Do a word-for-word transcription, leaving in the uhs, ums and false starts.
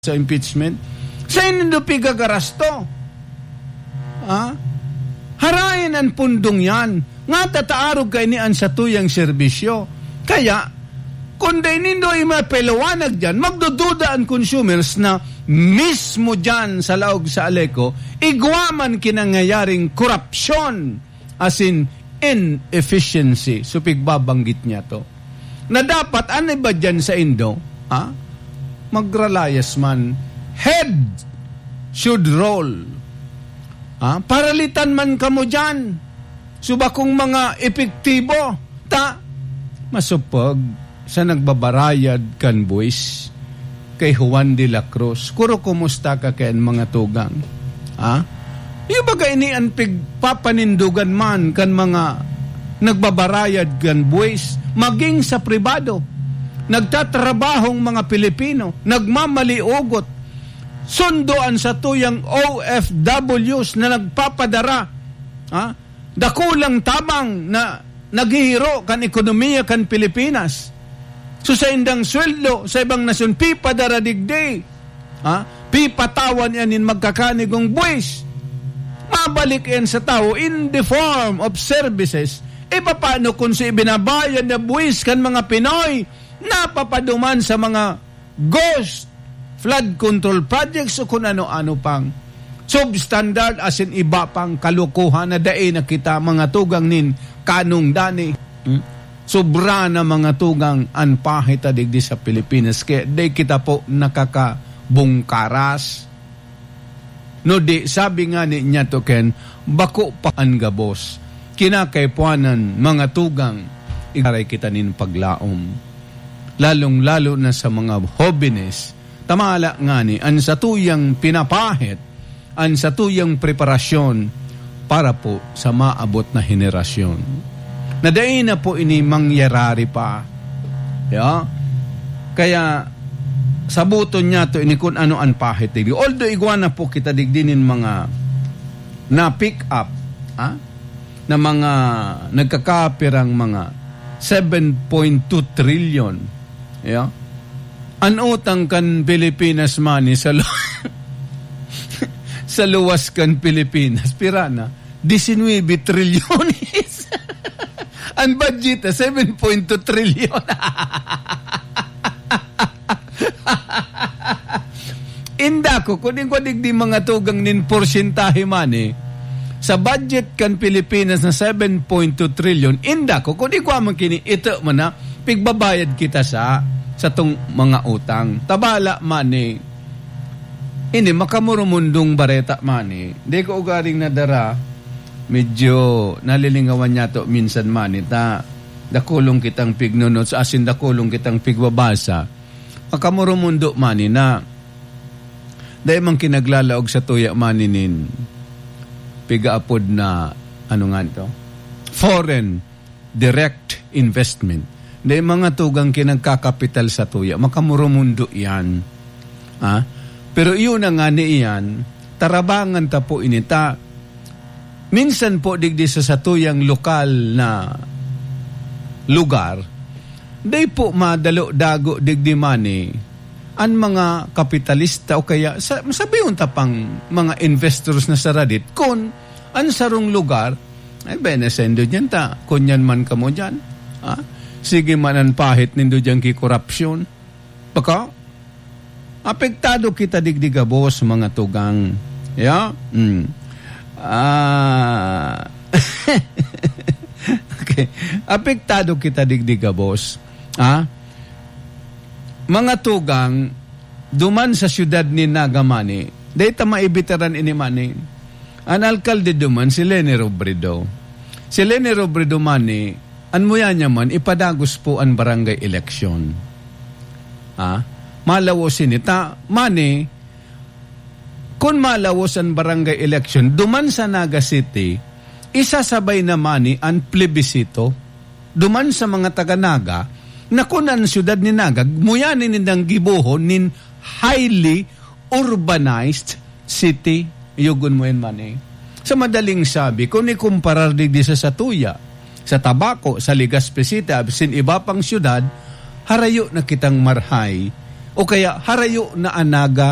sa impeachment? Saen nindo pigagarasto? Ha? Harayan an pundong yan. Nga tataarog kaini an satuyang serbisyo. Kaya, kun dai nindo imapaliwanag diyan, magdududa an consumers na mismo diyan sa laog sa Aleco, igwa man kinangyayaring korupsyon, asin inefficiency. So, pigbabanggit niya to. Na dapat, ano ba diyan sa Indo? Ha? Magralayas man. Head should roll. Ha? Paralitan man kamo diyan. So, bakong mga epektibo. Ta, masupog sa nagbabarayad kan buwis kay Juan de la Cruz. Kuro, kumusta ka kayan, mga tugang? Ha? Iyo baga ini an pigpapanindogan man kan mga nagbabarayad kan buwis, maging sa pribado? Nagtatrabahong mga Pilipino, nagmamaliogot, sundo an satuyang O F Ws na nagpapadara, ha? Dakulang tabang na naghihiro kan ekonomiya kan Pilipinas. So, sa indang sweldo, sa ibang nasyon, pipadara digdi. Ha? Pipatawan yan nin magkakanigong buwis. Mabalik yan sa tawo in the form of services. E, paano kung si ibinabayad na buwis kan mga Pinoy napapaduman sa mga ghost flood control projects o kun ano-ano pang substandard, asin iba pang kalukuhan na dai na kita, mga tugang, nin kanong dani. Hmm? Sobra na, mga tugang, an pahit ta digdi sa Pilipinas, kaya dai kita po nakakabungkaras. No di, sabi nga ni niya to, Ken, bako pa an gabos. Kinakaipuanan, mga tugang, igaray kita nin paglaom. Lalong-lalo na sa mga hobenes, tamala ngani an satuyang pinapahit, an satuyang preparasyon para po sa maabot na henerasyon. Na dai na po ini mangyarari pa. Ya? Kaya, sabuton niya to ini kun ano an pahit digdi. Although igwa na po kita digdi nin mga na-pick up, ha? Na mga nagkakapirang mga seven point two trillion. Ya? An utang kan Pilipinas man sa lu-, sa luwas kan Pilipinas, pira na? Diecinuebe trilyones. An budget na seven point two trilyon. Inda ko, kun igwa digdi, mga tugang, nin porsyentahe man, e, sa budget kan Pilipinas na seven point two trillion, inda ko, kun igwa man kini, ito man na, pigbabayad kita sa, sa tong mga utang. Tabala man, e, ini, makamurumundong bareta man, e. Di ko ugaring nadara, medyo nalilingawan niya to minsan man, e, ta, dakulong kitang pignonots, asin dakulong kitang pigbabasa. Makamurumundo man, e, na dai man kinaglalaog sa tuya man nin pigaapod na, ano nga ito? Foreign direct investment. Dai mga tugang kinagkakapital sa tuya. Makamurumundo yan. Ha? Pero iyon na nga ni iyan, tarabangan ta po ini ta. Minsan po digdi sa satuyang lokal na lugar, dai po madalo dago digdi man, e, an mga kapitalista o kaya sa, sabihon ta pang mga investors na saradit, kun an sarong lugar, ay, bene, sendo diyan ta, kun yan man kamo diyan. Ha? Sige man an pahit nindo diyan ki korupsyon. Baka, apektado kita digdi gabos, mga tugang. Ya? Mm. Ah, okay. Apektado kita digdi gabos. Ha? Mga tugang, duman sa siyudad nin Naga man, e, dai ta maibitaran ini man, e. An alkalde duman, si Leni Robredo. Si Leni Robredo man, e, an muya niya man, ipadagos po an barangay eleksyon. Ha? Malawos ini ta, man, e, kun malawos an barangay election, duman sa Naga City, isasabay na man ni an plebisito. Duman sa mga taga Naga, na kun an siyudad ni Naga, muya ni nindang gibohon nin highly urbanized city. Yugon mo yan man, e. Sa madaling sabi, kun ikumparar digdi sa satuya, sa Tabaco, sa Legazpi City, asin iba pang siyudad, harayo na kitang marhay o kaya harayo na anaga